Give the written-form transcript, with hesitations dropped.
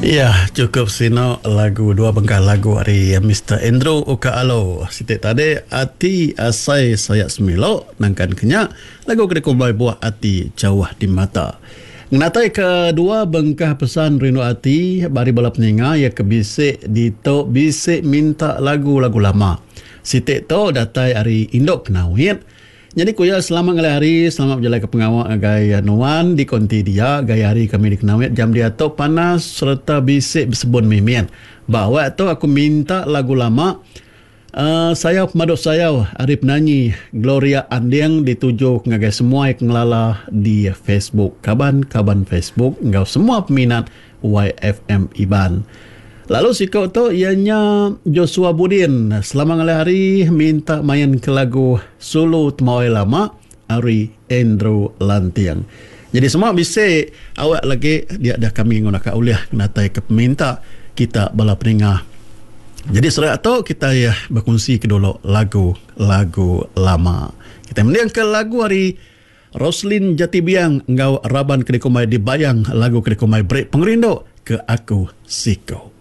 Iya chukup sinu lagu dua bengkah lagu ari Mister Andrew Uka Alo. Siti tadi Ati Asai Saya Semilo nangkan ke nya lagu ke dikumbai Buah Ati Jauh Di Mata. Ngenatai ke dua bengkah pesan rindu ati ba ari bala peninga iya ke bisi ditu bisi minta lagu-lagu lama. Siti tu datai ari Indu Kenawit. Nyadi ku iya selamat ngalih hari, selamat bejalaika pengawa ngagai nuan di konti dia. Gaya hari kami di Kenawit jam diatu panas sereta bisi besebun mimit. Ba awak tu aku minta lagu lama uhh Sayau Pemadu Sayau ari penanyi Gloria Anding dituju ngagai semua ke ngelala di Facebook, kaban-kaban Facebook enggau semua peminat YFM Iban. Lalu siku tu iya nya Joshua Budin. Selamat ngalih hari minta main ke lagu Sulu Temawai Lama ari Andrew Lanting. Jadi semua bisi awak lagi dia dah kami nguna ka ulih ngenatai ke peminta kita bala peninga. Jadi serak tu kita iya bekunsi ke dulu lagu-lagu lama. Kita mending ke lagu ari Roslin Jati Biang enggau raban ke dikumbai Dibayang lagu ke dikumbai Beri Pengerindu Ke Aku Siku.